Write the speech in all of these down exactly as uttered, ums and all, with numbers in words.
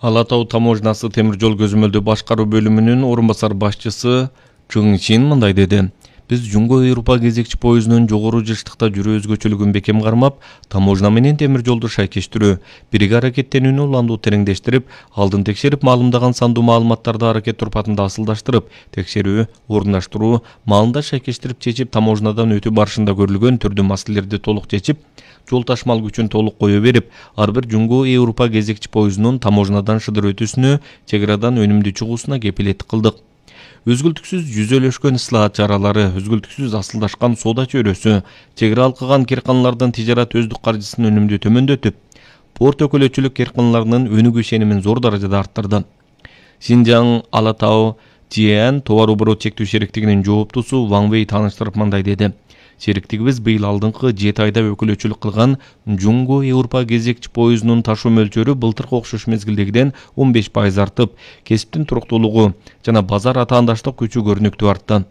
Ала Тау таможнасы темир жол көзөмөлдөө башкаруу бөлүмүнүн орун басар башчысы Чың Чин мындай деди. Биз Жумго Европа кезекчи поездунун жогору жыштыкта жүрүү өзгөчөлүгүн бекем кармап, таможна менен темир жолду шайкештирүү, бирге аракеттенүүнү уланду тереңдештирип, алдын текшерип маалымдаган сандуу маалыматтарды аракет турпатында асылдаштырып, текшерүү, орундаштыруу, маалында шайкештирип чечип, таможнадан өтүү барышында көрүлгөн түрдүү маселелерди толук чечип, жол ташмал күчүн толук кое берип, ар бир Жумго Европа кезекчи поездунун таможнадан шыдыр өтүүсүнө, чек арадан өнүмдүү чыгуусуна кепилеттик кылдык. Үзгүлтүксүз жүзөлөшкөн ыслаат чаралары, үзгүлтүксүз асылдашкан соода чөйрөсү, чек ара алкаган керканалардын тижарат өздүк каржысын өнүмдүү төмөндөтүп, порт өкүлөчүлүк керканаларынын өнүгүү ишенимин зор даражада арттырды. Синжаң Ала Тау Тиэн товар оборот чектөө шериктигинин жооптусу Ван Вэй тааныштырып мындай деди. Шериктигибиз быйыл алдыңкы жети айда өкүлөчүлүк кылган Жумго Европа кезекчи поездунун ташуу мөлчөрү былтыркы окшош мезгилдегиден он беш пайыз артып, кесиптин туруктуулугу жана базар атаандаштык күчү көрүнүктүү артты.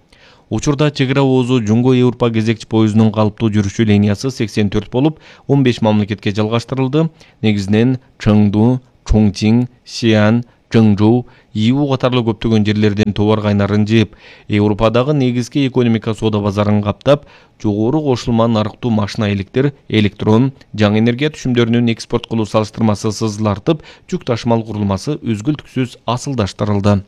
Учурда чек ара оозу Жумго Европа кезекчи поездунун калыптуу жүрүшү линиясы сексен төрт болуп, он беш мамлекетке жалгаштырылды. Негизинен Чыңду, Чоңчиң, Сиан, Чыңжоу, Иу катарлуу көптөгөн жерлерден товар кайнарын жыйып, Европадагы негизги экономика соода базарын каптап, жогору кошулма нарыктуу машина электр, электрон, жаңы энергия түшүмдөрүнүн экспорт кылуу салыштырмасы сызылартып, жүк ташымал курулмасы үзгүлтүксүз асылдаштырылды.